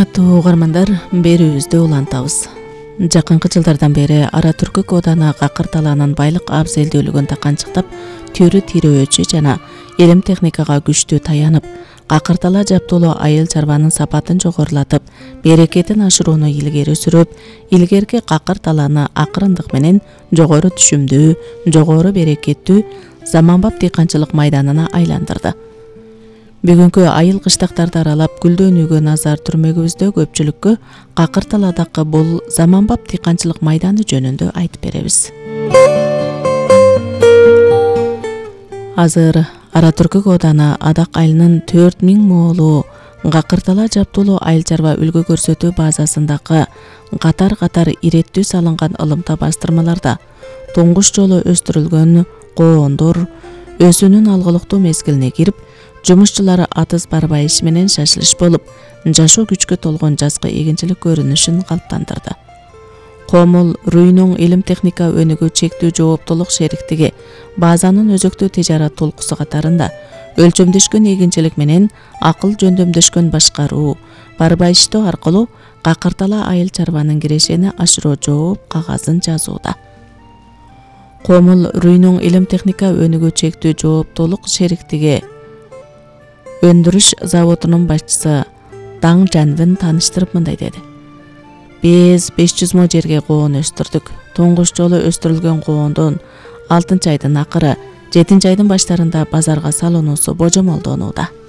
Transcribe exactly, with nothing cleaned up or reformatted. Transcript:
Урматтуу угармандар, берүүбүздү улантабыз. Жакынкы жылдардан бери Ара Түркүк оодана Какыр талаанын байлык абзелдүүлүгүн таканчыктап, төрү тирөөчү жана илим техникага күчтүү таянып, Какыр талаа жаптуулуу айыл чарбанын сапатын жогорулатып, берекетин ашырууну илгери сүрүп, илгерки Какыр талааны акырындык менен жогору түшүмдүү, жогору берекеттүү заманбап дыйканчылык майданына айландырды. Бүгүнкү айыл кыштактарды аралап гүлдөнүүгө назар түрмөгүбүздө көпчүлүккө Какыр талаадагы бул заманбап дыйканчылык майданы жөнүндө айтып беребиз. Азыр Ара Түркүк оодана Адак айылынын төрт миң моолуу Какыр талаа жаптуулуу айыл чарба үлгү көрсөтүү базасындагы катар-катар иреттүү салынган ылымта бастырмаларда туңгуч жолу өстүрүлгөн коондор өсүүнүн алгылыктуу мезгилине кирип, жумушчулары атыс барбайыш менен шашылыш болуп, жашоо күчкө толгон жазкы эгинчилик көрүнүшүн калыптандырды. Комул Рүйнүң илим техника өнүгүү чектүү жооптулук шериктиги базанын өзөктүү тижарат толкусу катарында өлчөмдөшкөн эгинчилик менен акыл жөндөмдөшкөн башкаруу, барбайыштоо аркылуу Какыр талаа айыл чарбанын кирешени ашыруу жооп кагазын жазууда. Комул Рүйнүң илим техника өнүгүү чектүү жооптулук шериктиги өндүрүш заводунун башчысы Таң Жанвин тааныштырып мындай деди: Биз беш жүз мо жерге коон өстүрдүк. Туңгуч жолу өстүрүлгөн коондон алтынчы айдын акыры, жетинчи айдын баштарында базарга салынуусу божомолдонууда.